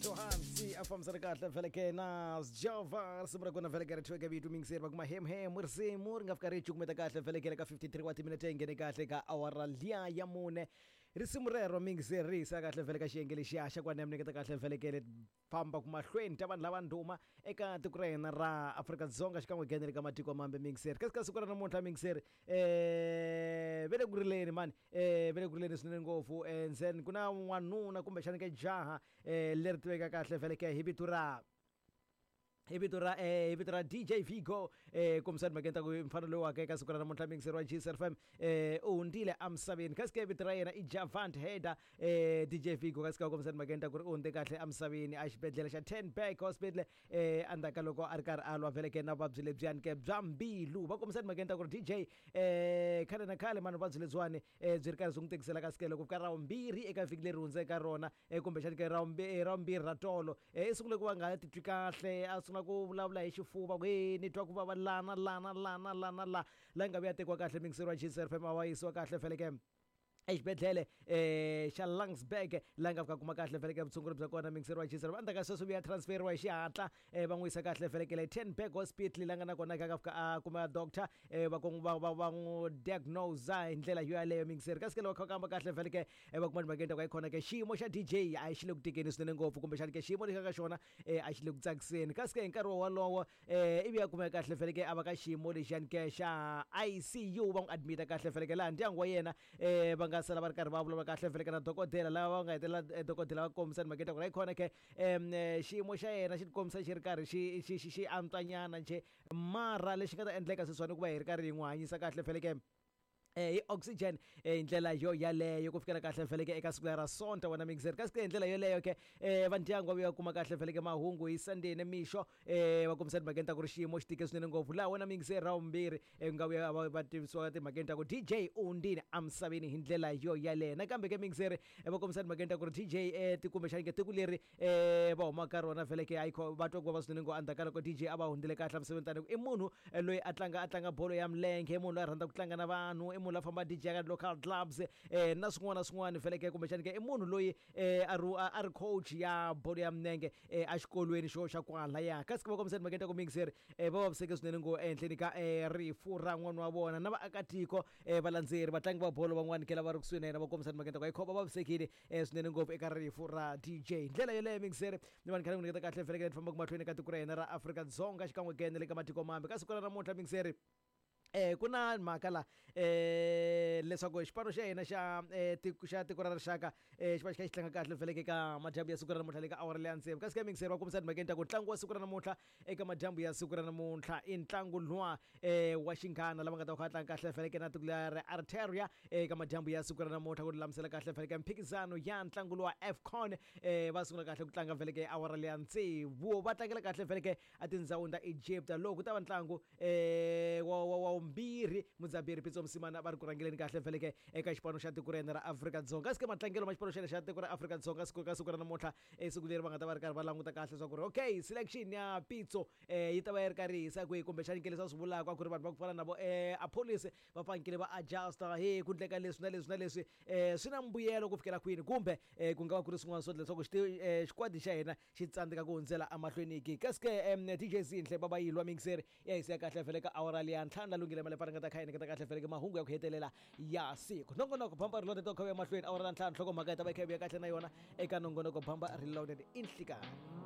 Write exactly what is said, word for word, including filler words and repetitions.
Johansi a fambisana kahle vheleke na Java risimu ra kona vheleke ri thweke vito mingiseri va kuma hem hem risimu ri nga fika ri cukumeta kahle vheleke ka fifty-three wa timinete yi nghene kahle ka awara liya ya mune. Risimu rero mingiseri ri yisa kahle vheleke xiyenge lexiya xa ku nemneketa kahle vheleke famba ku mahlweni ta vanhu lava ndhuma eka tiko ra hina ra Afrika-Dzonga xikan'we ghenele ka matiko mambe mingiseri. Kasi ka siku ra namuntlha mingiseri eh ve le ku rileni mani eh ve le ku rileni swinene ngopfu eh ndzeni ku na n'wanuna kumbexana ke jaha eh leri tiveka kahle vheleke hi vito ra hi vito ra eh hi vito ra D J Vigo eh kombisani mhakeni ta ku mfana loyi wa ka eka siku ra namuntlha mingiseri wa G S F M eh u hundzile emisaveni. Kasi ke vito ra yena i Javant Heda eh D J Vigo kasi ka kombisani mhakeni ta ku ri u hundze kahle emisaveni a xibedhlele xa Ten Back Hospital eh endzhaku ka loko a ri karhi a lwa vheleke na vuvabyi lebyiyani ke bya mbilu. Va kombisani mhakeni ta ku ri D J eh khale na khale mani vuvabyi lebyiwani eh byi ri karhi byi n'wi tikisela kasi ke loko ka ra vumbirhi eka vhiki leri hundzeke ka rona eh kumbexani ke ra ra vumbirhi ra tolo eh i sungule ku va nga titwi kahle a sungula ku vulavula hi xifuva ku e ni twa ku vava lana lana lana lana la la nga vuya tekiwa kahle mingiseri wa G S F M a va yisiwa kahle vheleke exibedhlele eh xa Langsberg la nga fika kuma kahle vheleke vutshunguri bya kona mingiseri wa G S F M. Endzhaku ka sweswo vuya transferiwa hi xihatla eh va n'wi yisa kahle vhelekele Ten Back Hospital la nga na kona ka fika a kuma doctor eh va va va va n'wi diagnose hi ndlela yo yaleyo mingiseri. Kasi ke loko kamba kahle vheleke va kuma timhakeni ta ku ayikhona ke xiyimo xa D J a xi le ku tikeni swinene ngopfu kumbexana ke xiyimo lexi ka xona eh a xi le ku tsakiseni. Kasi ke hi nkarhi wolowo eh ivi ya kumeka kahle vheleke a va ka xiyimo lexiyani ke xa I C U va n'wi admita kahle vheleke laha ndyangu wa yena eh va nga sala va ri karhi va vulavula kahle vheleke na dokodela lava va nga hetelela dokodela va kombisa timhakeni ta ku ri ayikhona ke xiyimo xa yena xi tikombisa xi ri karhi xi xi xi xi antswanyana njhe mara lexi nga ta endleka sweswiwani ku va hi ri karhi hi n'wi hanyisa kahle vheleke eh hi oxygen eh ndlela yo yaleyo ku fikela kahle vheleke eka siku ra Sonta wena mingiseri. Kasi ke ndlela yoleyo ke eh va ndyangu va vuya kuma kahle vheleke mahungu hi Sunday ne mixo eh va kombisa timhakeni ta ku ri xiyimo xi tike swinene ngopfu laha wena mingiseri ra vumbirhi eh nga vuya va tivisiwa timhakeni ta ku D J u hundzile emisaveni hi ndlela yo yaleyo. Nakambe ke mingiseri va kombisa timhakeni ta ku ri D J eh kumbexana ke tiko leri eh va humaka ka rona vheleke ayikho va twa ku va swinene ngopfu endzhaku ka loko D J a va hundzile kahle emisaveni tani i munhu loyi a tlanga a tlanga bolo ya milenge, munhu loyi a rhandza ku tlanga na vanhu, i munhu la famba D J ka local clubs eh na swin'wana na swin'wana vheleke kumbexana ke i munhu loyi eh a ri a ri coach ya bolo ya milenge eh exikolweni xo xa kwalaya. Kasi va kombisa timhakeni ta ku mingiseri eh va vaviseke swinene ngopfu ehenhleni ka eh rifu ra n'wana wa vona na vaakatiko eh valandzeri vatlangi va bolo van'wana ke lava ri kusuhi na yena va kombisa timhakeni ta ku ayikho va vavisekile eh swinene ngopfu eka rifu ra D J. Ndlela yoleyo mingiseri ni vanhu khale ku nyiketa kahle vheleke ni famba mahlweni ka tiko ra hina ra Afrika-Dzonga xikan'we ke na le ka matiko mambe. Ka siku ra namuntlha mingiseri eh ku na mhaka la eh leswaku xipano xa hina xa eh tiko xa tiko ra rixaka eh xi va xi kha xi tlanga kahle vheleke ka madyambu ya siku ra namuntlha le ka awara leya tsevu. Kasi ke mingiseri va kombisa timhakeni ta ku ntlangu wa siku ra namuntlha eka madyambu ya siku ra namuntlha i ntlangu luwa eh wa xinghana lava nga ta va kha va tlanga kahle vheleke na tiko leri Arteria eka madyambu ya siku ra namuntlha ku lulamisela kahle vheleke mphikizano ya ntlangu luwa AFCON eh va sungula kahle ku tlanga vheleke awara leya tsevu va tlangela kahle vheleke etindhawini ta Egypt loko ku ta va ntlangu eh wa wa mbirhi Mudzaberi Pitso Mosimane va ri ku rhangeleni kahle vheleke eka xipano xa tiko ra hina ra Afrika-Dzonga. Kasi ke matlangelo ma xipano xa xa tiko ra Afrika-Dzonga siku ka siku ra namuntlha eh siku leri va nga ta va ri karhi va languta kahle leswaku ri okay selection ya Pitso eh yi ta va yi ri karhi yi hisa kwihi kumbexana ke leswi va swi vulaka a ku ri vanhu va ku fana na vo eh Appollis va fanekele va adjusta he ku ndleka leswi na leswi na leswi eh swi na mbuyelo ku fikela kwini kumbe eh ku nga va ku ri swin'wana swo leswaku xikwadi xa hina xi tsandzeka ku hundzela emahlweni ki. Kasi ke D J Zinhle va va yilwa mingiseri ya hisa kahle vheleke awara leya ntlhanu la lunghile male nga ta kha yena kahle vheleke mahungu ya ku hetelela ya siku. Nongonoko Bamba Reloaded to kha ya mahlweni awara ntlhanu nhloko mhaka yi ta va yi kha yi vuya kahle na yona eka nongonoko Bamba Reloaded inhlikani.